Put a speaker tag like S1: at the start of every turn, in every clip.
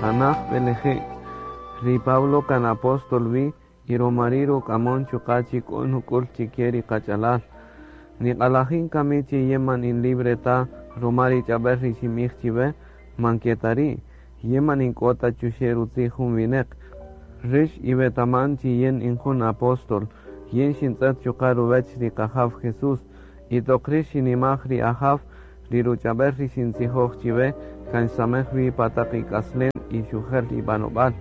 S1: Tanaj beleje. Ri Pablo kan apóstol vi y romari ruk'amon chuqa' chi k'o nuk'ul chike ri qach'alal. Niq'alajin kami chi yin man in libre ta ruma ri ch'ab'äl ri xinb'ij chiwe, man ke ta ri', yin man in k'o ta chuxe' rutzij jun wineq. Rix iwetaman chi yin in jun apóstol, yin xintz'ët chuqa' ruwech ri Qajaw Jesús, y toq rix xinimaj ri Ajaw, ri ruch'ab'äl ri xintzijoj chiwe kan xsamej wi pa taq ik'aslen y xujäl ib'anob'al.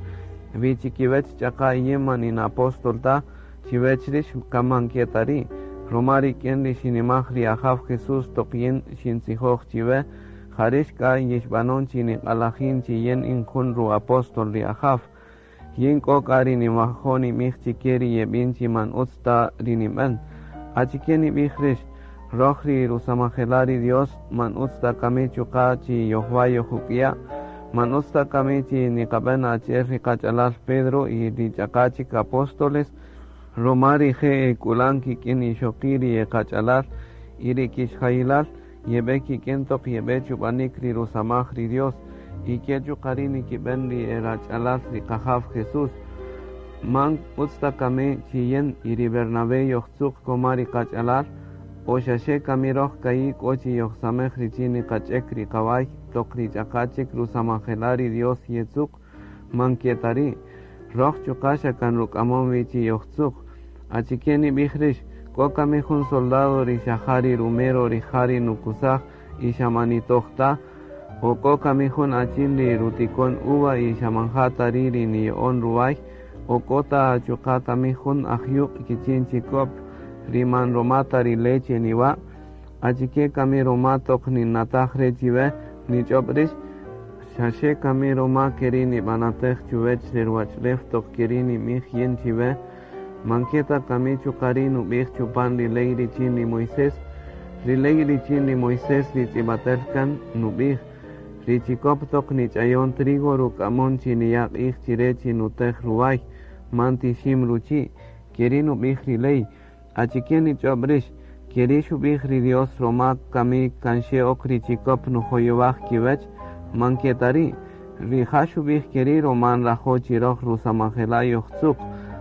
S1: Wi chikiwech ch'aqa' yin man in apóstol ta, chiwech rix kan man ke ta ri', ruma rik'in ri xinimaj ri Ajaw Jesús toq yin xintzijoj chiwe, ja rix k'a yixb'anon chi niq'alajin chi yin in jun ru-apóstol ri Ajaw. Yin k'o k'a ri niwajo' nib'ij chike ri yeb'in chi man utz ta ri nib'än. Achike nib'ij rix? Roj ri rusamajela' ri Dios man utz ta kami chuqa' chi yojwa' yojuk'ya'? Man utz ta kami chi niqab'än achi'el ri qach'alal Pedro y ri ch'aqa' chik apóstoles? Ruma rije' e k'ulan kik'in ixoqi' ri e qach'alal y ri kixjayilal yeb'e kik'in toq yeb'e chub'anik ri rusamaj ri Dios, y ke chuqa' ri' nikib'än ri e rach'alal ri Qajaw Jesús. Man utz ta kami chi yin y ri Bernabé yojtzuq koma ri qach'alal? O xaxe kami roj ka'i' k'o chi yojsamej richin niqach'ek ri qaway toq ri ch'aqa' chik rusamajela' ri Dios yetzuq? Man ke ta ri'. Roj chuqa' xa kan ruk'amon wi chi yojtzuq. Achike nib'ij rix? K'o kami jun soldado ri xa ja ri rumero rija' ri nukusaj y xa man nitoj ta? O k'o kami jun achin ri rutikon uva y xa man ja ta ri' ri niya'on ruway? O k'o ta chuqa' kami jun ajyuq' kichin chikop ri man roma ta ri leche niwa'? Achike kami roma toq ninnataj re chiwe nich'ob' rix? Xaxe kami roma keri' nib'anatej chuwech re ruwach'ulew toq keri' nib'ij yin chiwe? Man ke ta kami chuqa' ri' nub'ij chupan ri ley richin ri Moisés? Ri ley richin ri Moisés ri tz'ib'atel kan, nub'ij, Ri chikop toq nich'ayon trigo ruk'amon chi niya' q'ij chire chi nutej ruway, man tixim ruchi'. Keri' nub'ij ri ley. Achike nich'ob' rix? Keri' xub'ij ri Dios roma kami kan xe ok ri chikop nujoyowaj kiwech? Man ke ta ri'. Rija' xub'ij keri' roma nrajo' chi roj rusamajela' yojtzuq,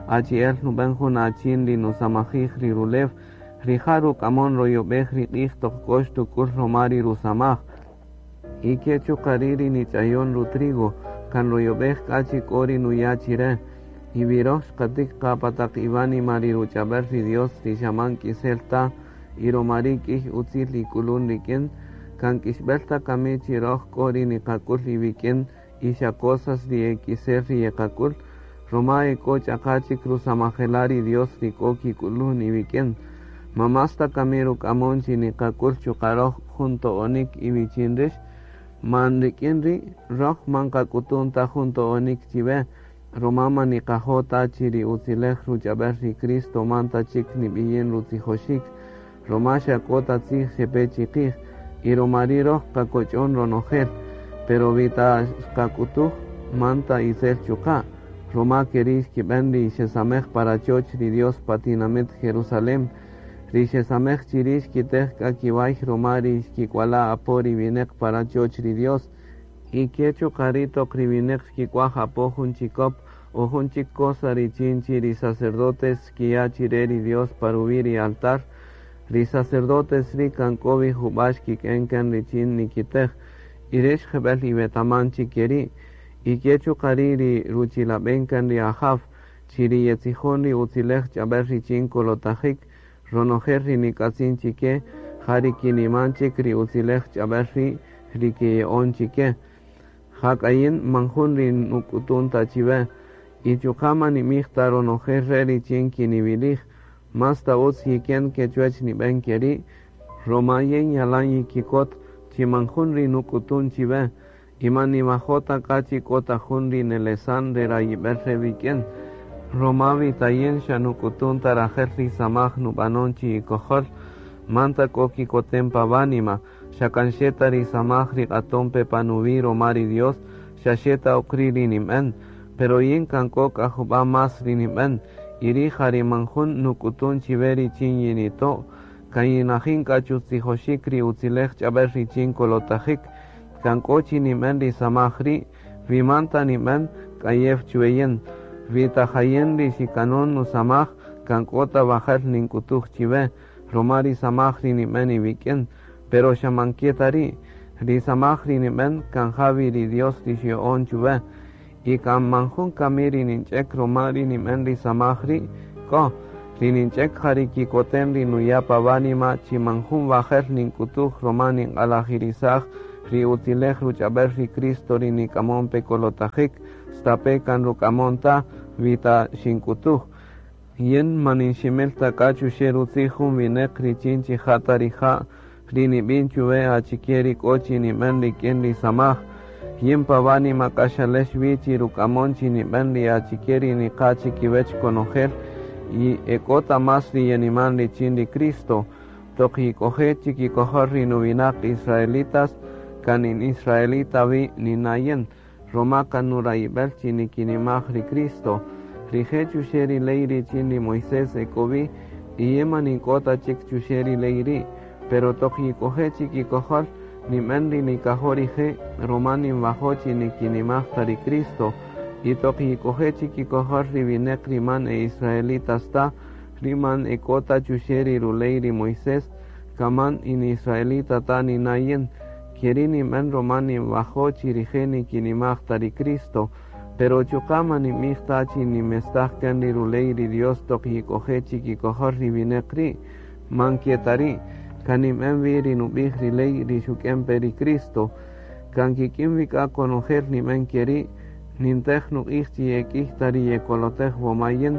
S1: achi'el nub'en jun achin ri nusamajij ri rulew, rija' ruk'amon royob'ej ri q'ij toq k'o xtuk'ul roma ri rusamaj. Y ke chuqa' ri' ri nich'ayon ru-trigo, kan royob'ej k'a chi k'o ri nuya' chire. Y wi roj xqatik qa pa taq iwánima ri ruch'ab'el ri Dios ri xa man k'isel ta, y roma ri' k'iy utzil ik'ulun rik'in, kan k'ixb'el ta kami chi roj k'o ri niqak'ul iwik'in y xa cosas ri e k'isel ri yeqak'ul, roma e k'o ch'aqa' chik rusamajela' ri Dios ri k'o kik'ulun iwik'in. Ma más ta kami ruk'amon chi niqak'ul chuqa' roj jun to'onik iwichin rix? Man rik'in ri', roj man qak'utun ta jun to'onik chiwe, roma man niqajo' ta chi ri utzilej ruch'ab'el ri Cristo man ta chik nib'iyin rutzijoxik, roma xa k'o ta tzij xepe chiqij, y roma ri' roj qakoch'on ronojel, pero wi ta xqak'utuj, man ta itzel chuqa', roma keri' xkib'en ri xesamej pa rachoch ri Dios pa tinamit Jerusalén, ri xesamej chiri' xkitej k'a kiway roma ri xkik'uala' apo ri wineq pa rachoch ri Dios, Y ke chuqa' ri' toq ri wineq xkik'uaj apo jun chikop o jun chik cosa richin chi ri sacerdotes xkiya' chire ri Dios pa ruwi' ri altar, ri sacerdotes ri' kan k'o wi juba' xkik'en kan richin nikitej, y rix jebel iwetaman chi keri'. Y ke chuqa' ri' ri ruchilaben kan ri Ajaw, chi ri yetzijon ri utzilej ch'abel richin kolotajik, ronojel ri nik'atzin chike, ja ri kiniman chik ri utzilej ch'abel ri' ri kiya'on chike. Jak'a yin man jun ri nuk'utun ta chiwe, y chuqa' man nimij ta ronojel re' richin kiniwilij, más ta utz yiken ke chuwech nib'en keri', roma yin yalan yikikot chi man jun ri nuk'utun chiwe, y man niwajo' ta k'a chi k'o ta jun ri nelesan re rayib'el re wik'in, roma wi ta yin xa nuk'utun ta rajel ri samaj nub'anon chi ikojol, man ta k'o kikoten pa wánima, Xa kan xe ta ri samaj ri q'aton pe pa nuwi' roma ri Dios, xa xe ta ok ri' ri ninb'en. Pero yin kan k'o k'a jub'a' más ri ninb'en, y ri' ja ri man jun nuk'utun chiwe richin yinito'. Kan yinajin k'a chutzijoxik ri utzilej ch'ab'el richin kolotajik. Kan k'o chi ninb'en ri samaj ri', Wi man ta nib'än, k'ayew chuwe yin. Wi ta ja yin ri xikanon nusamaj, kan k'o ta wajel nink'utuj chiwe, ruma ri samaj ri nib'än iwik'in, pero xa man ke ta ri'. Ri samaj ri nib'än kan ja wi ri Dios ri xya'on chuwe. Y kan man jun kami ri ninch'ek ruma ri nib'än ri samaj ri', k'o. Ri ninch'ek ja ri kikotem ri nuya' pa wánima chi man jun wajel nink'utuj ruma ninq'alajirisaj ri utzilej ruch'ab'el ri Cristo ri nik'amon pe kolotajik, stape kan ruk'amon ta wi ta xink'utuj. Yin man ninximil ta k'a chuxe' rutzij jun wineq richin chi ja ta rija' ri nib'in chuwe achike ri k'o chi nib'än rik'in ri samaj. Yin pa wánima k'a xalex wi chi ruk'amon chi nib'än ri achike ri niqa' chikiwech konojel y e k'o ta más ri yeniman richin ri Cristo. Toq yik'oje' chikikojol ri nuwinaq israelitas, kan in israelita wi nina' yin, ruma kan nurayib'el chi nikinimaj ri Cristo. Rije' chuxe' ri ley richin ri Moisés e k'o wi, y yin man ink'o ta chik chuxe' ri ley ri', pero toq yik'oje' chikikojol, nib'än ri nikajo' rije', ruma ninwajo' chi nikinimaj ta ri Cristo. Y toq yik'oje' chikikojol ri wineq ri man e israelitas ta, ri man e k'o ta chuxe' ri ruley ri Moisés, kan man in israelita ta nina' yin. Ke ri' nib'än ruma ninwajo' chi rije' nikinimaj ta ri Cristo. Pero chuqa' man ninb'ij ta chi ninmestaj kan ri ruley ri Dios toq yik'oje' chikikojol ri wineq ri'. Man ke ta ri', kan nib'än wi ri nub'ij ri ley ri xuk'en pe ri Cristo. Kan kik'in wi k'a konojel nib'än ke ri', nintej nuq'ij chi yek'ïy ta ri yekolotej woma yin.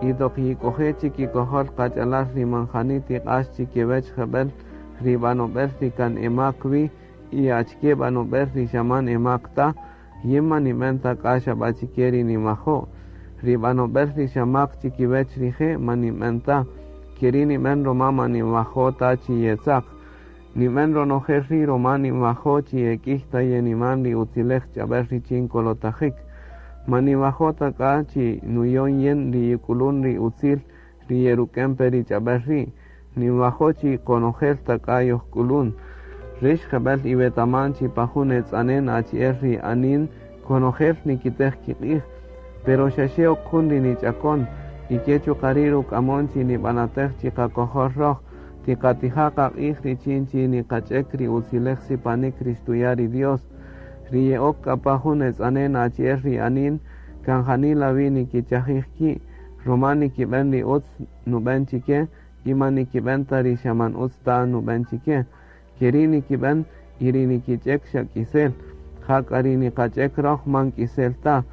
S1: Y toq yik'oje' chikikojol qach'alal ri man jani tiq'ax chikiwech jeb'ël ri b'anob'el ri kan emak wi y achike b'anob'el ri xa man emak ta, yin man nib'än ta k'a xa b'a chike ri ninwajo'. Ri b'anob'el ri xa mak chikiwech rije' man nib'än ta. Ke ri' nib'än ruma man ninwajo' ta chi yetzaq. Nib'än ronojel ri' ruma ninwajo' chi yek'ïy ta yeniman ri utzilej ch'ab'äl richin kolotajik. Man ninwajo' ta k'a chi nuyon yin ri yik'ulun ri utzil ri yeruk'en pe ri ch'ab'äl ri'. Ninwajo' chi konojel ta k'a yojk'ulun. Rix jeb'ël iwetaman chi pa jun etz'anen achi'el ri anin konojel nikitej kiq'ij, pero xa xe ok jun ri nich'akon, y ke chuqa' ri' ruk'amon chi nib'anatej chiqakojol röj, tiqatija' qaq'ij richin chi niqach'ek ri utzilej sipanik ri xtuya' ri Dios. Ri ye'ok k'a pa jun etz'anen achi'el ri anin, kan janila wi nikichajij ki', ruma nikib'än ri utz nub'än chike y man nikib'än ta ri xa man utz ta nub'än chike. Ke ri' nikib'än y ri nikich'ek xa k'isel, ja k'a ri niqach'ek röj man k'isel ta.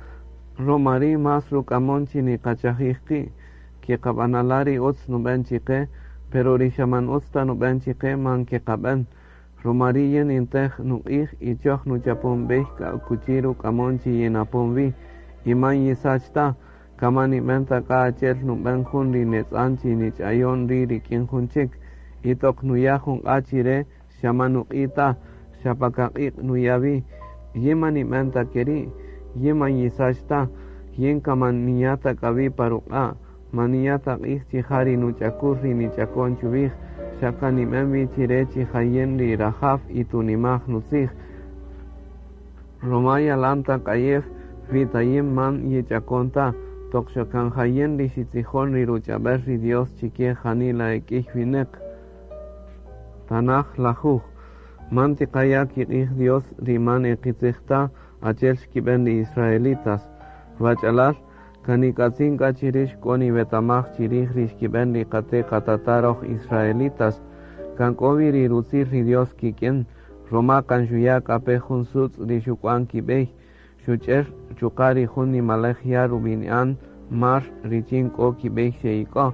S1: Ruma ri' más ruk'amon chi niqachajij qi', keqab'anala' ri utz nub'än chiqe, pero ri xa man utz ta nub'än chiqe man keqab'än. Ruma ri' yin nintej nuq'ij y choj nuchapon b'ey k'a akuchi ruk'amon chi yinapon wi, y man yisach ta, kan man nib'än ta k'a achi'el nub'än jun ri netz'an chi nich'ayon ri' rik'in jun chik, y toq nuya' jun q'a' chi re xa man nuq'i' ta, xa pa kaq'iq' nuya' wi. Yin man nib'än ta ke ri', yin man yisach ta, yin kan man ninya' ta k'a wi' pa ruq'a', man ninya' ta q'ij chi ja ri nuch'akul ri nich'akon chuwij, xa kan nib'än wi chi re chi ja yin ri rajaw y tunimaj nutzij. Ruma yalan ta k'ayew wi ta yin man yich'akon ta, toq xa kan ja yin ri xitzijon ri ruch'ab'äl ri Dios chike janila e k'ïy winäq. Tanaj lajuj. Man tiqaya' kiq'ij Dios ri man e qitzij ta, achi'el xkib'än ri israelitas. Wach'alal, kan nik'atzin k'a chi rïx k'o niwetamaj chi rij ri xkib'än ri qate' qatata' röj israelitas. Kan k'o wi ri rutzil ri Dios kik'in, ruma kan xuya' k'a pe jun sutz' ri xuk'wan kib'ey, xuch'ër chuqa' ri jun nimaläj ya' rub'ini'an mar richin k'o kib'ey xe'ik'o.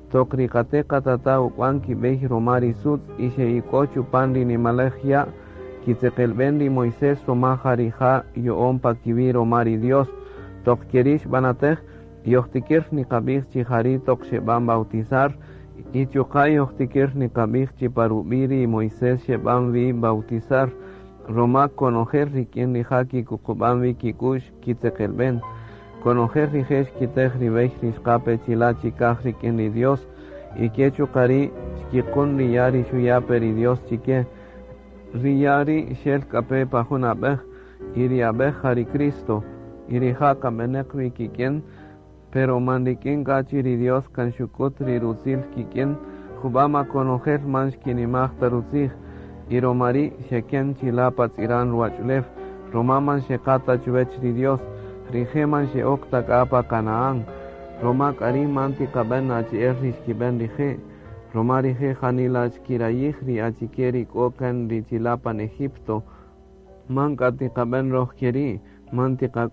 S1: Toq ri qate' qatata' uk'wan kib'ey ruma ri sutz' y xe'ik'o chupan ri nimaläj ya', kitzeqelb'en ri Moisés ruma ja rija' yo'on pa kiwi' ruma ri Dios. Toq ke ri' xb'anatej, yojtikïr niqab'ij chi ja ri' toq xeb'an bautizar, y chuqa' yojtikïr niqab'ij chi pa rub'i' ri Moisés xeb'an wi bautizar, ruma konojel rik'in rija' kikuqub'an wi kik'u'x kitzeqelb'en. Konojel rije' xkitej ri b'ey ri xqa pe chila' chikaj rik'in ri Dios, y ke chuqa' ri' xkiqün ri ya' ri xuya' pe ri Dios chike. Ri ya' ri' xel k'a pe pa jun ab'äj, Y ri ab'ej ja ri Cristo, y rija' kan b'eneq wi kik'in, pero man rik'in k'a chi ri Dios kan xuk'ut ri rutzil kik'in, jub'ama konojel man xkinimaj ta rutzij, y roma ri' xeken chila' pa tz'iran ruwach'ulew, roma man xeqa ta chuwech ri Dios, rije' man xe'ok ta k'a pa Canaán, roma k'a ri' man tiqab'en achi'el ri xkib'en rije', roma rije' janila xkirayij ri achike ri k'o kan ri chila' pan Egipto, man k'a tiqab'en roj keri', man tiqak'waj.